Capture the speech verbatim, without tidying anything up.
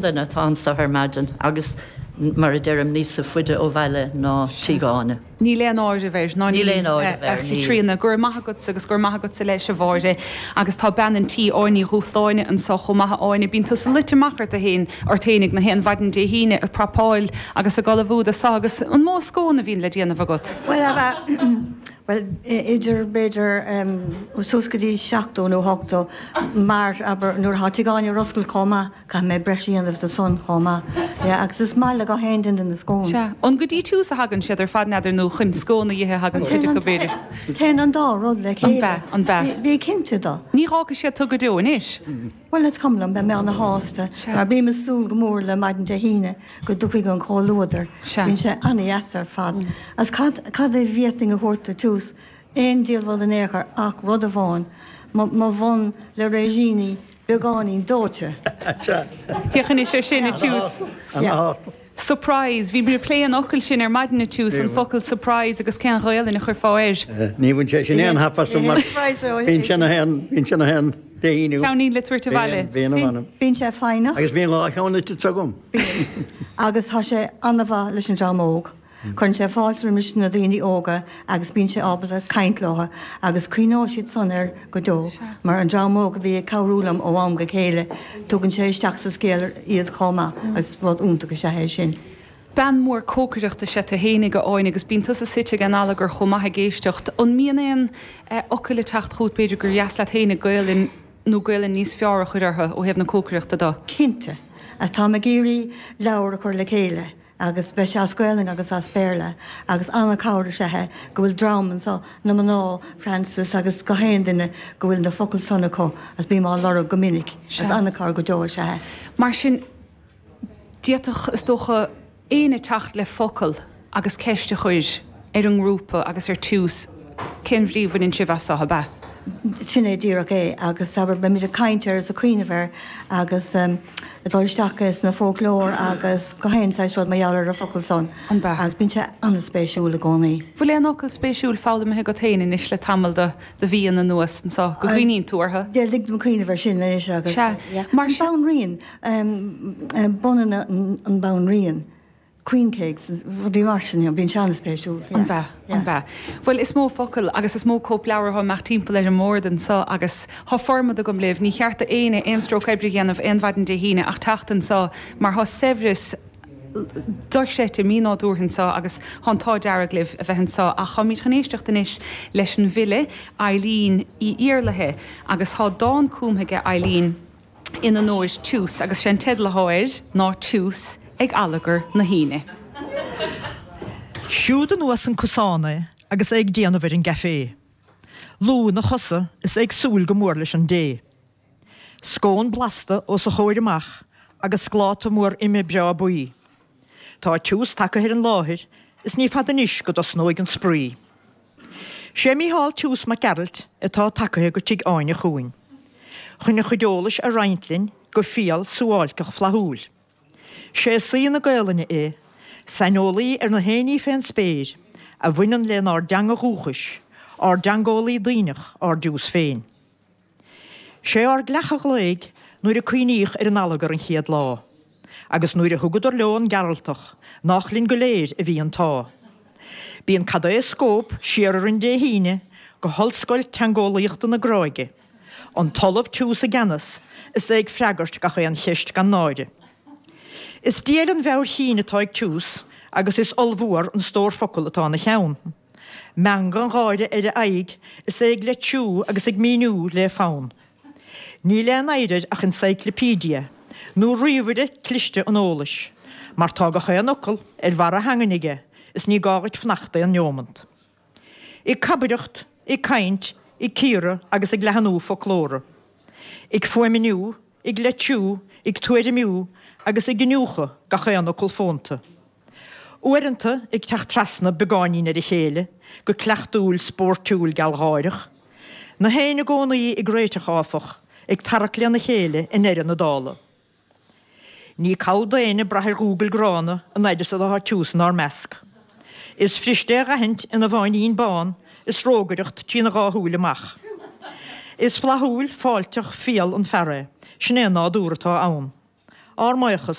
Duine atá anseo ar maidin agus mar a deirim níos faide ó bhaile ná Tigh Áine. Níl aon áireamh air ná Níl aon áireamh air, níl. Tríona gur maith agat agus gur maith agatsa leis a Mháire agus tá bean an tí Áine Ní Dhúshláine anseo chomh maith Áine bíonn tusa luite amach ort féin ort féinig na haon mhaidin Dé hAoine ag prapáil agus ag ullmhú do sa agus an mó scón a bhíonn le déanamh agat. Well Well idir b'fhéidir suas go dtí seachtó nó ochtó mar aber nuair atá Tigh Áine ar oscailt chomh maith caithfidh mé breis a dhéanamh do san chomh maith. Yeah, agus is maith le gach aon duine na scones. Sea, an go dtí Tús a thagann siad ar fad n'fheadar nó chun scón a ithe a thagann cuid acu b'fhéidir. Téann an dá rud le chéile. An bea, an bea. Bí cinnte do. Ní fhágfaidh siad tú go deo anois. Well is cuma liom beidh mé ana-shásta mar bím ag súil go mór le maidin Dé hAoine go dtiocfaidh an comhluadar. Bíonn sé an-deas ar fad. Agus cad cad é bhféadfainn a thabhairt do Tús aon diabhal rud in aon chor ach rud amháin, mo mo bhun le réisíní beagáinín dóite. Féach anois ar sin a Tús. Surprise, bhí mé ag plé an fhocail sin ar maidin a Tús, an focal surprise agus cén Ghaelainn a chuirfeá air. Ní bhain sé sin aon hap asam mar bíonn sé na haon bíonn sé na haon Dé hAoine. Ceainnín le tabhairt abhaile. Bíonn a mh'anam. Bíonn sé foighneach. Agus bíonn dhá cheann ite agam. Bíonn. Agus tá sé an-mhaith leis an dream óg. Cuireann sé fáilte roimis na daoine óga agus bíonn sé ábalta caint leo agus cuimhneoidh siad san air go deo mar an dream óg a bhí ag cabhrú liom ó am go chéile, tugann sé isteach sa scéal iad chomh maith agus rud iontach is ea é sin. Bean mhór cócaireachta is ea tú fhéinig a Áine agus bíonn tusa suite ag an allagar chomh maith ag éisteacht. An mbíonn aon fhocail ag teacht chugat b'fhéidir gur dheas leat fhéinig Gaelainn nó Gaelainn níos fearr a chur orthu ó thaobh na cócaireachta de? Cinnte. Táim ag iarraidh leabhar a chur le chéile agus beidh sé as Gaelainn agus as Béarla agus an-chabhair is ea é go bhfuil dream anseo, na mná, Frances agus gach aon duine go bhfuil na focail san acu agus bím á lorg go minic agus an-chabhair go deo is ea é. Mar sin, d'fhéadfadh, is dócha, éinne teacht le focal agus ceist a chur ar an ngrúpa agus ar Tús, cén bhrí a bhaineann sibh as seo, ab ea? Sin é díreach é agus abair beimid ag caint air is ag cuimhneamh air agus ag dul isteach sna foclóir agus gach aon saghas rud mar gheall ar an focal san An bea? agus bíonn sé an-spéisiúil i gcónaí. Bhfuil aon fhocal spéisiúil foghlamtha agat féin anois le tamall de de mhíonna anuas anseo go gcuimhníonn tú orthu? Yeah, lig dom cuimhneamh air sin anois agus Sea, yeah. mar An sin. Banríon, bunanna an Banríon. Queen cakes, rudaí mar sin, you know, bíonn sé an-spéisiúil. An bea, an bea. Bhuel, is mó focal agus is mó cóipleabhar atá amach timpeall ar an mbord anseo agus tá formad agam libh, ní cheart d'éinne aon stróc oibre a dhéanamh aon mhaidin Dé hAoine ach teacht anseo mar tá saibhreas dochreidte mínádúrtha anseo agus tá an t-ádh dearg libh a bheith anseo ach táimid chun éisteacht anois leis an bhfile Eileen Uí Iarlaithe agus tá dán cumtha aige Eileen in onóir Tús agus sé an teideal atá air ná Tús ag Allagar na hAoine. Siúd anuas an cosán é agus é ag déanamh ar an gcaifé. Lúth ina chosa is é ag súil go mór leis an dtae. Scón blasta os a chomhair amach agus scláta mór ime breá buí. Tá Tús tagtha ar an láthair is ní fada anois go dtosnóidh an spraoi. Sé Mícheál Tús Mac Gearailt atá tagtha go Tigh Áine chugainn chun a chuid eolais a roinnt linn go fial suáilceach flaithiúil. Sé saoi na Gaolainne é, saineolaí ar na haon ní fén spéir a bhaineann lenár dteanga dhúchais, ár dteangeolaí duibhneach, ár dTús féin. Sé ár gcreach a ghlaoigh nuair a cuimhníodh ar an allagar an chéad lá, agus nuair a thugadar leo an Gearaltach, nách linn go léir a bhí an t-ádh. Bíonn cailéadascóp siar orainn Dé hAoine go hOllscoil Teangeolaíochta na Gráige, an tOllamh Tús i gceannas is é ag freagairt gach aon cheist gan náire. Is diail an mheabhair chinn atá ag Tús agus is ollmhór an stór focal atá ina cheann. Meangadh an gháire ar a aghaidh is é ag leidsiú agus ag míniú le fonn. Níl aon oidhre air ach encyclopedia, nó ríomhaire cliste an eolais, mar tá gach aon fhocal ar bharr a theangan aige is ní gá dhuit fanacht aon neomant. Ag cabaireacht, ag caint, ag cíoradh agus ag leathnú foclóra. Ag fuaimniú, ag leidsiú, ag tuairimiú agus ag iniúchadh gach aon fhocal fónta. Uaireanta ag teacht trasna beagáinín ar a chéile, go cleachtúil spóirtiúil gealgháireach. Na héin i gcónaí ag réiteach áfach, ag tarrac lena chéile i ndeireadh na dála. Ní call d'éinne brath ar Ghoogle gránna an fhaid is atá Tús inár measc. Is fuirist é dh'aithint ina bháinín bán is rógaireacht trína dhá shúil amach. Is flaithiúil, fáilteach, fial an fear é, sin é an nádúr atá ann. Ár mbuíochas.